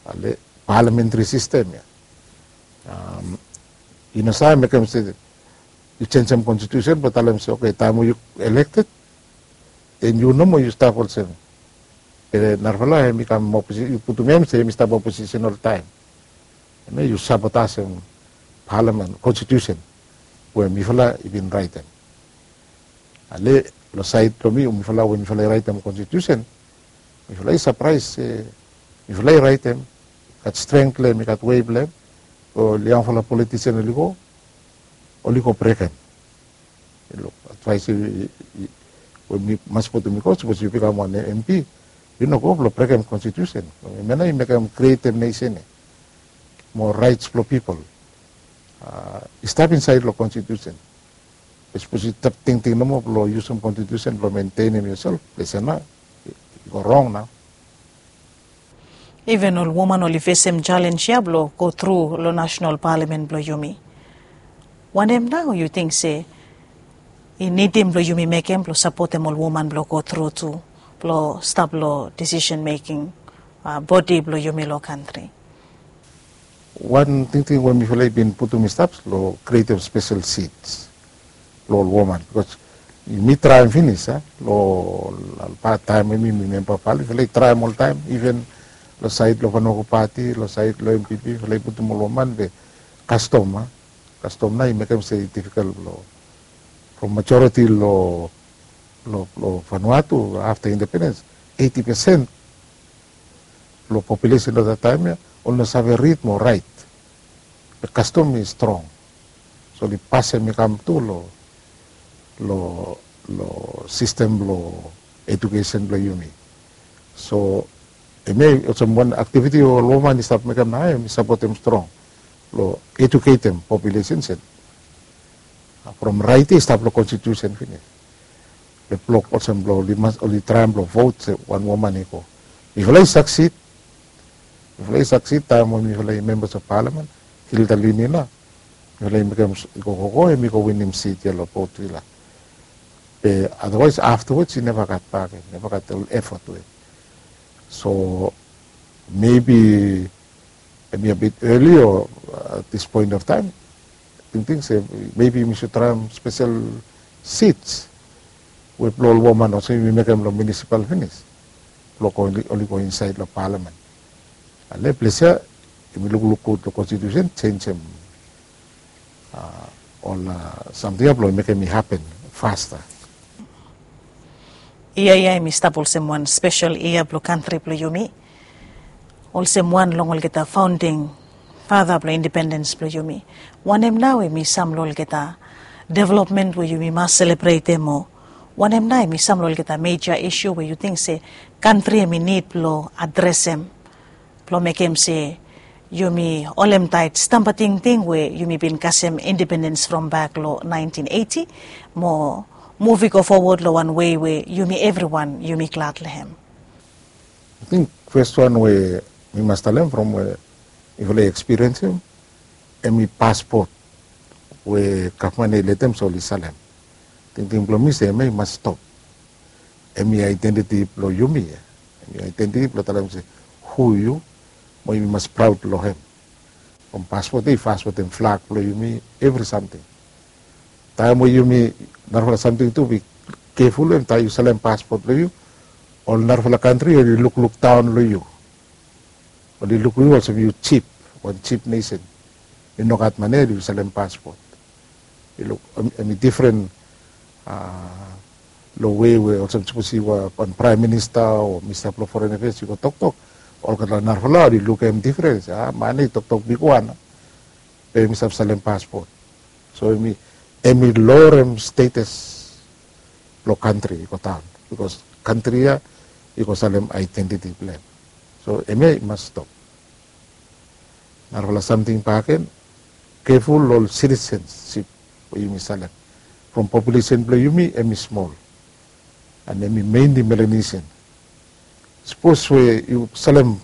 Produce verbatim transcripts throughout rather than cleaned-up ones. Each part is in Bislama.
Ale, parliamentary system ya. I no save mekem se yu jenisim konstitusen blong talem se, oke, taem we yu elected, then yu nomo yu stap olsem. Be narafala hemi kam oposi- yu putum hem se hemi stap oposisen oltaem. Hemia yu sabotasem parliament konstitusen we mifala i bin raetem. Ale, long saed blong mi, mifala we mifala i raetem konstitusen, mifala i sapraes se mifala i raetem, gat strength blong hem, i gat wei blong hem. Ol yangfala politisen oli go, oli go brekem. Luk, advaes we mi mas putum i go, sapos yu bikam wan MP, yu no go blong brekem konstitusen. Hemia nao i mekem krietem nesen ya. Mo raets blong pipol i stap insaed long konstitusen. Sapos yu stap tingting nomo blong yusum konstitusen blong mentenem yoself, ples ya nao i go rong nao. Iven ol woman oli fesem jalenj ya blong go tru long nasenal paliamen blong yumi. Wanem nao yu ting se i nidim blong yumi mekem blong sapotem ol woman blong go tru tu blong stap long disisen meking bodi blong yumi long kantri? Wan tingting we mifala i bin putum i stap long krietem spesel seats blong ol woman, bikos mi traem finis a long ol pat taem we mi memba paliamen, mifala i traem oltaem, iven long saed blong Vanuatu Pati, long saed blong NPP, mifala i putum ol woman, be kastom a kastom nao i mekem se i difikol blong, from majoriti long Vanuatu afta independens, eiti pesen blong populesen long dat taem ya oli no save rid mo raet. Be kastom i strong, so oli pasem i kam tu long long sistem blong edukesen blong yumi. So hemia i olsem wan aktiviti we ol woman i stap mekem nao, hemi sapotem strong long eduketem populesen. From raet ya i stap long konstitusen finis. Be blok olsem blong oli traem blong vot se wan woman i go. Mifala i saksid, mifala i saksid taem we mifala i membas of paliamen, Hilda Lini nao mifala i mekem i go go go, hemi go winim sit ya long Port Vila. Be otherwise afterwards i neva gat bak, i neva gat ol efot we. So maybe hemi a bit early o at this point of time, tingting se maybe yumi should traem spesel seats we blong ol woman olsem yumi mekem long munisipal finis blong oli go insaed long paliamen. Ale, ples ya yumi lukluk gud long konstitusen, jenisem ol samting ya blong mekem i hapen fasta. Yia ya hemi stap olsem wan spesel yia blong kantri blong yumi, olsem wan long olgeta faonding fata blong independens blong yumi. Wanem nao hemi sam long olgeta developmen we yumi mas selebretem, o wanem nao hemi sam long olgeta meja isu we yu ting se kantri hemi nid blong adresem blong mekem se yumi holemtaet stamba tingting we yumi bin kasem independens from bak long naentin eiti, mo muv i go fowod long wan wei we yumi evriwan yumi glad long hem? Ating fes wan we mi mas talem from we mifala i ekspiriensim, hemi paspot we gavman i letem se oli salem. Tingting blong mi se hemia i mas stop. Hemi aedentiti blong yumi ya. Hemi aedentiti blong talem se hu yu, mo yumi mas praod long hem. From paspot ya i fas wetem flag blong yumi, evri samting. Taem we yumi, narafala samting tu be keful, taem yu salem paspot blong yu, ol narafala kantri oli lukluk daon long yu. Oli luk yu olsem yu jip, wan jip nesen. Yu no gat mane, yu salem paspot. Yu luk, hemi difren long wei we olsem sapos yu wan praem minista o minista blong foren afeas, yu go toktok, olgeta narafala oli lukim difren, se a man ya i toktok bigwan, be hemi save salem paspot. So hemi lorem stetas blong kantri i go daon, bikos kantri ya i go salem aedentiti blong hem. So hemia i mas stop. Narafala samting bakegen, keful long ol sitisensip we yumi salem. From populesen blong yumi hemi smol, and hemi mainli Melanesian. Sapos we yu salem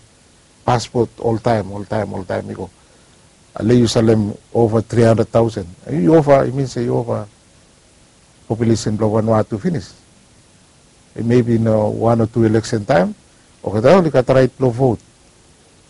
paspot oltaem, oltaem, oltaem i go, ale yu salem ova tri handred taosen, yu ova, i min se yu ova populesen blong Vanuatu finis. Maybe long wan o tu eleksen taem olgeta oli gat raet blong vot.